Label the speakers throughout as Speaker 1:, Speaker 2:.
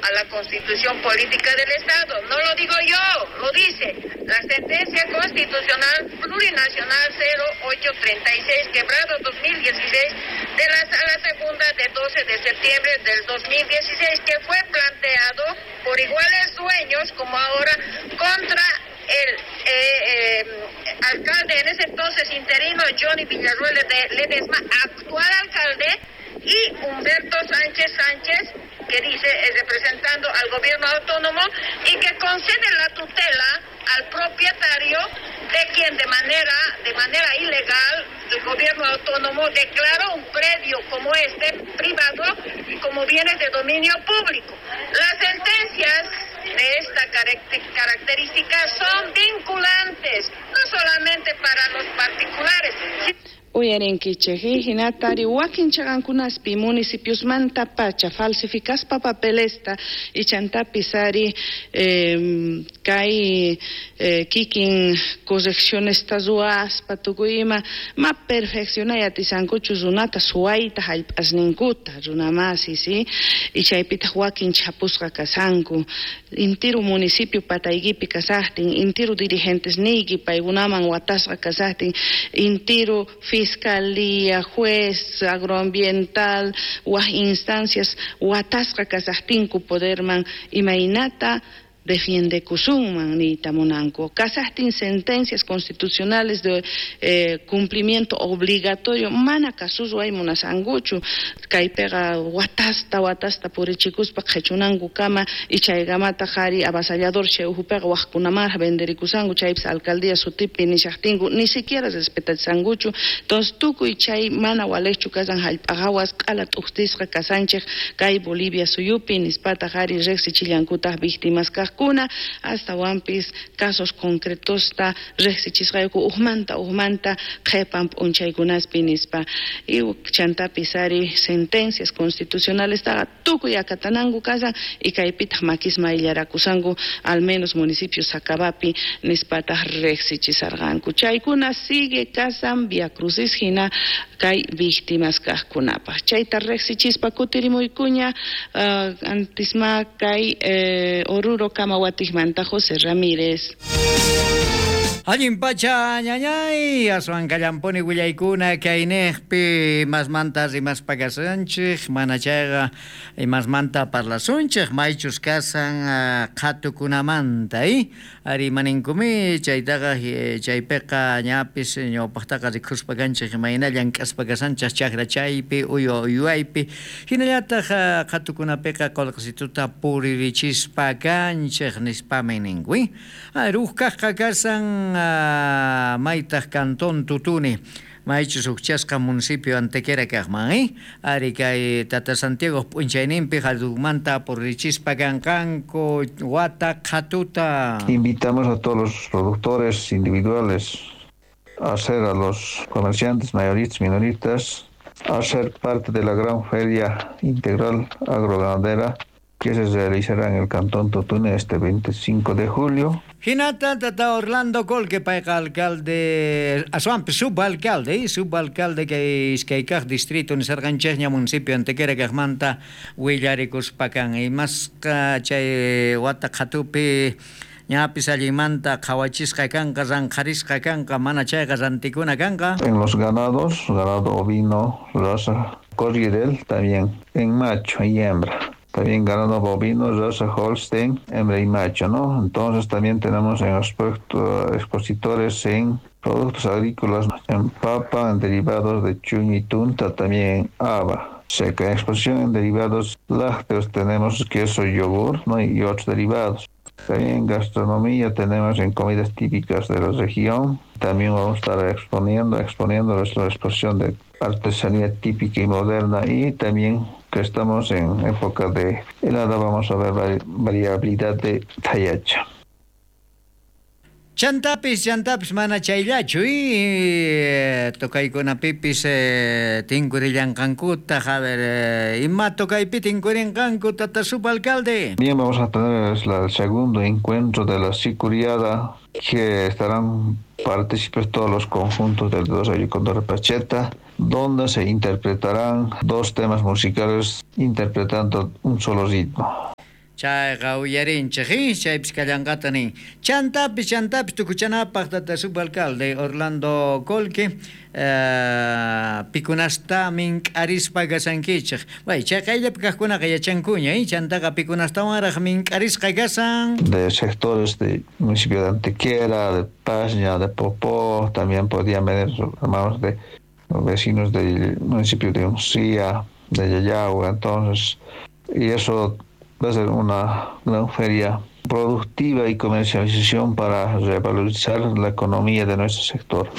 Speaker 1: a la Constitución Política del Estado. No lo digo yo, lo dice la Sentencia Constitucional Plurinacional 0836, quebrado 2016, de la Sala Segunda de 12 de septiembre del 2016, que fue planteado por iguales dueños como ahora contra el alcalde en ese entonces interino Johnny Villarruel de Ledesma, actual alcalde, y Humberto Sánchez Sánchez, que dice representando al gobierno autónomo y que concede la tutela al propietario de quien de manera ilegal el gobierno autónomo declaró un predio como este privado como bienes de dominio público. Las sentencias de esta característica son vinculantes, no solamente para los particulares.
Speaker 2: Uyarinkichej hinatari wakin chaqankunaspi municipiosmanta pacha falsificaspa papelesta ichantapis ari kay kikin correccionesta ruwaspa tukuy ima ma perfeccionay atisankuchu runata suwayta hallp'asninkuta runamasi si y chaypitaq wakin chapusqa kasanku intiru municipio pataykipi kasaqtin intiru dirigentes niyki paykunaman watasqa kasaqtin intiru fiscalía, juez, agroambiental, waj instancias watasqa kasaqtinku poderman imaynata defiende kusunman niyta munanku. Kasaqtin sentencias constitucionales de cumplimiento obligatorio mana kasusway munasankuchu kaypiqa watasta purichikuspa qhichunankukama y chaykamataq ari avasallador chay uhupiqa waqkunamanraq venderikusanku chaypis alcaldía sutipi nishaqtinku ni siquiera respetachisankuchu. Entonces tukuy chay mana waliqchu kasan hallp'a hawas q'ala t'uqtisqa kasanchik kay Bolivia suyupi nispataq ari riqsichillankutaq víctimas kaq kuna astawanpis casos concretosta riqsichisqayku ujmanta qhipan p'unchaykunaspi nispa y chantapis ari sentencias constitucionales taqa tukuy akatananku kasan y kaypitaq makisma ayllarakusanku al menos municipio Sacabapi nispataq riqsichisarqanku. Chaykuna sigue kasan Via Crucis hina kay víctimas kaqkunapaq. Chayta riqsichispa kutirimuykuña antisma kay Oruro Kamawatikmanta José Ramírez.
Speaker 3: Allin pacha ñañay, aswan kallampuni willaykuna kayniqpi masmanta rimaspa kasanchik, mana chayqa imasmanta parlasunchik, maychus kasan qhatukunamanta, ari maninkumi chaytaqa chaypiqa ñapis ñawpaqtaqa rikuspa kanchik imayna llank'aspa kasanchik chakra chaypi uywa uywaypi hinallataq qhatukunapiqa qullqisituta puririchispa kanchik nispami ninku. Huk kaqqa kasan maytaq cantón Tutuni maychus hukchasqa municipio Antequera kaqman, ari kay Tata Santiago p'unchayninpi hallumanta purichispa kanqanku wata qhatuta.
Speaker 4: Invitamos a todos los productores individuales a ser a los comerciantes mayoristas, minoristas, a ser parte de la gran feria integral agroganadera que se realizará en el Cantón Totune este 25 de julio.
Speaker 3: Hinata tata Orlando Colque payqa alcalde, aswanpi subalcalde, subalcalde kay iskaykaq distrito nisarqanchikña municipio Antequera kaqmanta willarikuspa kan. Imasqa chay wata qhatupi ñapis allinmanta qhawachisqa kanqa, ranqharisqa kanqa, mana chayqa rantikuna kanqa.
Speaker 4: En los ganados, ganado ovino, raza Corriedel, también en macho y hembra. También ganado bovino, raza Holstein, hembra y macho, ¿no? Entonces también tenemos en aspecto expositores en productos agrícolas, en papa, en derivados de chuño y tunta, también en haba seca. En exposición en derivados lácteos tenemos queso, yogur, ¿no? Y otros derivados. También en gastronomía tenemos en comidas típicas de la región. También vamos a estar exponiendo nuestra exposición de artesanía típica y moderna, y también que estamos en época de helada vamos a ver variabilidad de tayacha.
Speaker 3: Chantapis mana chayllachu tokaykunapipis tinkurillanqankuta, a ver, ima tokaypi tinkurinqanku tata subalcalde.
Speaker 4: Bien, vamos a tener el segundo encuentro de la sicuriada, que estarán partícipes todos los conjuntos del 2 Condor Pacheta, donde se interpretarán dos temas musicales interpretando un solo ritmo.
Speaker 3: Chayqa uyarinchej, chaypis kallanqata nin. Chantapis, chantapis tukuchanapaq tata subalcalde Orlando Colque, pikunasta mink'arispa kashankichej. Bay, chay qayllapi kaqkunaqa yachankuña, chantaqa pikunastawanraq mink'arisqa kasan.
Speaker 4: De sectores del municipio de Antequera, de Paña, de Popó, también podían venir hermanos de vecinos del municipio de Uncía, de Yayagua, entonces, y eso va a ser una gran feria productiva y comercialización para revalorizar la economía de nuestro sector.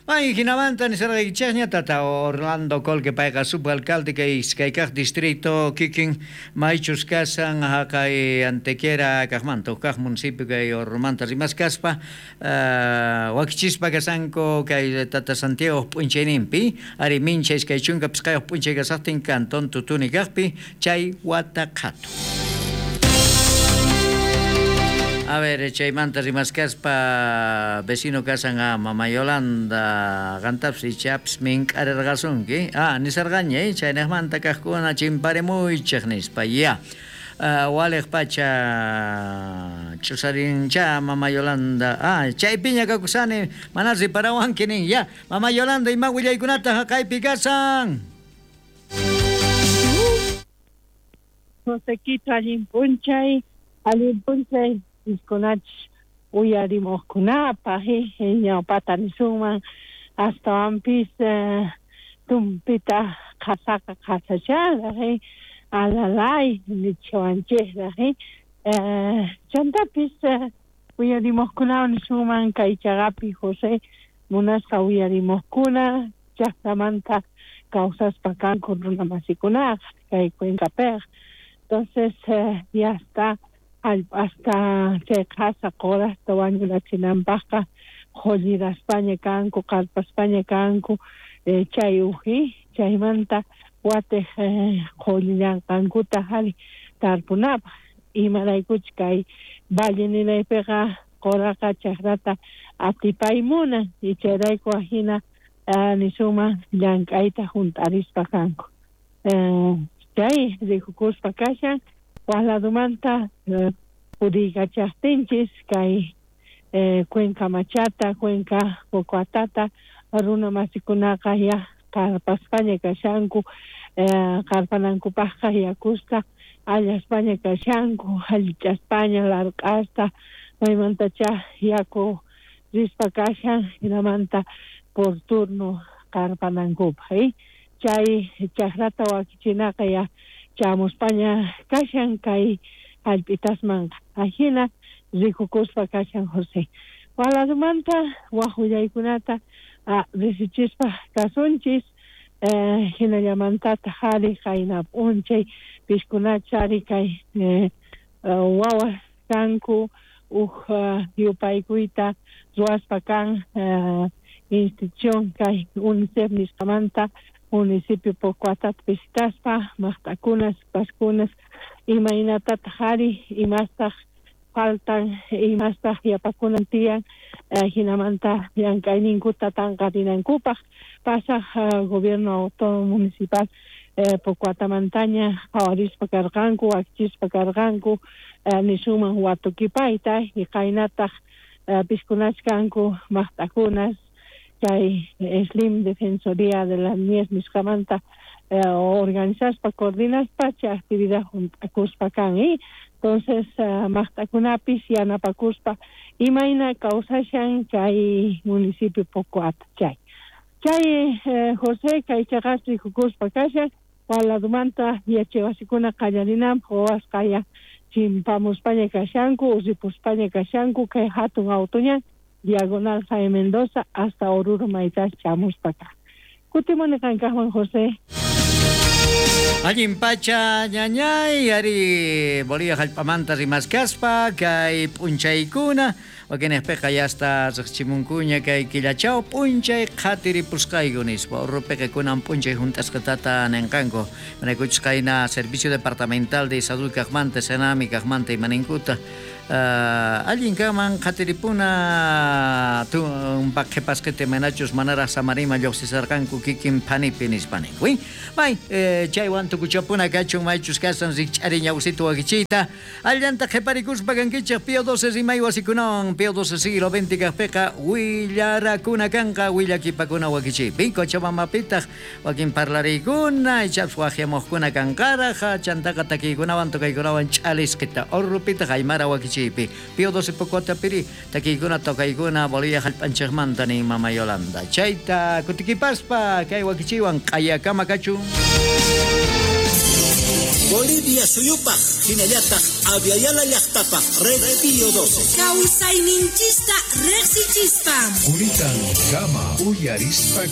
Speaker 3: Ay, jinamanta nisarqaykichikña tata Orlando Colque payqa subalcalde kay iskaykaq distrito kikin maychus kasan haqay Antequera kaqmanta huk municipio kay Orlomanta rimaskaspa wakichispa kasanku kay tata Santiago p'unchayninpi ari mincha 25 p'unchay kasaqtin cantón Tutuni kaqpi chay wata qhatu. A ver, chaymanta rimaskaspa vecino kasan a Mama Yolanda qantapis ichapis mink'arirqasunki. Ah, nisarqaña, chaynaqmanta kaqkuna chimparimuychik nispa, ya. Waliq pacha ch'usarincha Mama Yolanda. Ah, chaypiña kakusani, mana riparawanki nin, ya. Mama Yolanda, ima willaykunata haqaypi kasan?
Speaker 5: Josequito, allin p'unchay, allin p'unchay. Iskunachis uyarimuqkunapaq ñawpata nisunman astawanpis tumpita qhasaqa qhasacharaq alalay nichawanchikraq chantapis uyarimuqkunawan nisunman kay chaqapi José munasqa uyarimuqkuna llaqtamanta kawsaspa kanku runamasikunaqa kay Cuencapiqa. Entonces ya está hasta chay qhasa qurasta wañurachinanpaqqa qulliraspaña kanku qarpaspaña kanku chay uji chaymanta watiq qullillanqankuta hari tarpunapaq imaraykuchus kay valle ninaypiqa quraqa chakrata atipaymunan y chayrayku ajina nisunman llank'ayta hunt'arispa kanku chay rikukuspa kashan waq ladumanta puriykachaqtinchis kay Cuenca Machata, Cuenca Pocoatata runa masikunaqa ya qarpaspaña kashanku qarpanankupaqqa yakusta allaspaña kashanku allichaspaña larq'asta maymantacha yaku rispa kashan hinamanta por turno qarpanankupaq chay chakrata wakichinaqa ya chamuspaña kashan kay hallp'itasmanqa ajina rikukuspa kashan José. Waladumanta waq willaykunata risichispa kasunchis hinallamantataq ari qayna p'unchay pishkunacha ari kay wawas kanku uj yupaykuyta ruwaspa kan institución kay UNICEF nisqamanta municipio Pocoatata visitaspa maqt'akunas paskunas imaynatataq ari imastaq faltan imastaq yapakunan tiyan hinamanta llank'ayninkuta tanqarinankupaq pasaq gobierno autónomo municipal Pocoatamantaña qhawarispa karqanku wakichispa karqanku nisunman watukipayta y qaynataq piskunach kanku maqt'akunas chay Slim Defensoría de la Niñez nisqamanta organizaspa coordinaspa chay actividad hunt'akuspa kan entonces maqt'akunapis yanapakuspa imayna kawsashan chay municipio Pocoata chay chay José kay chaqas rikukuspa kashan waladumanta yachaywasikuna qallarinanpaq wawasqa ya chimpamuspaña kashanku ripuspaña kashanku kay hatun autoñan Diagonal Jaime Mendoza hasta Oruro maytas chamuspa kaq. Kutimuni qankaqman José.
Speaker 3: Allin pacha ñañay ari Bolivia hallp'amanta rimaskaspa kay p'unchaykuna Wakinejpeqa yasta riqchimunkuña kay killachaw p'unchay qhatiripusqayku nispa. Urrupiqa kunan p'unchay hunt'asqatata ninqanku. Manaykuchus qayna Servicio Departamental de Salud kaqmanta, Senami kaqmanta imaninkuta. Allin kanman qhatiripuna tumpa qhipasqita imaynachus manaraq samarima lluqsisarqanku kikin phanipi nispa ninku. May chaywan tukuchapuna kachun maychus kasan rikch'ari ñawsita wakichiyta. Allanta qhiparikuspa kankichik Pío 12 rimay wasikunawan Pío 12 siglo XX kaqpiqa willarakuna kanqa willakipakuna wakichiypi. Cochabambapitaq wakin parlariykuna ichapas waqyamuqkuna kanqaraq chantaqa takiykunawan tocaykunawan ch'alisqita Orrupitaq aymara wakichiypi. Pío 12 Pocotapiri takiykuna tocaykuna Bolivia hallp'anchikmanta nin Mama Yolanda. Chayta kutikipaspa kay wakichiywan q'ayakama kachun.
Speaker 6: Bolivia suyupaj hinallataq Aviala llaqtapaj Red Pío 12.
Speaker 7: Kawsayninchista riqsichispa.
Speaker 8: Kuritan kama uyarispa.